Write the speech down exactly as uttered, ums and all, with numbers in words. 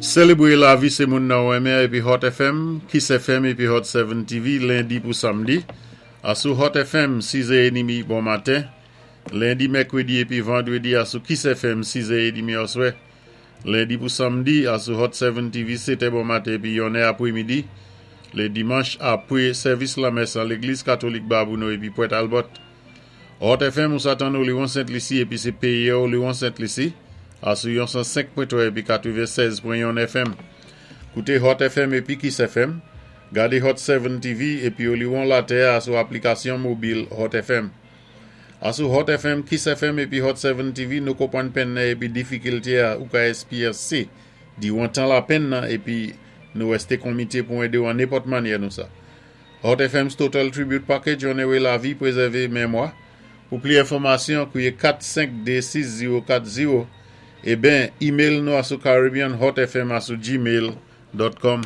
Sélébwé lavi sé moun nan ou renmen épi Hot F M, Kiss F M épi Hot sept T V lendi pou samdi. Asou Hot F M sis è edmi bon maten. Lendi, mèkwédi épi vandwédi asou Kiss F M sis è edmi aswè. Lendi pou samdi asou Hot sept T V sèt è bon maten épi yon è apwémidi. Lé dimanch apwé sèvis lamès an légliz katolik Babonneau épi Port Albert. Hot F M ou sa tann Oléron Sent Lisi épi sé péyi Oléron Sent Lisi asou yon san senk pwen twa épi katwennsèz pwen yon F M. Kouté Hot F M épi Kiss F M. Gadé Hot sept T V épi Oléron Latè asou aplikasyon mobil Hot F M. Asou Hot F M, Kiss F M épi Hot sept T V, nou konpwann penn nan épi difikilté a ou ka espywansé diwan tan lapenn nan épi nou wèsté komité pou édé ou an nenpòt mannyè nou sa. Hot F M's Total Tribute Package onoré lavi, pwézèvé mémwa. Pou pli enfòmasyon, kouwé kat senk de sis zewo kat zewo é ben email nou asou caribbeanhotfm asou gmail dot com.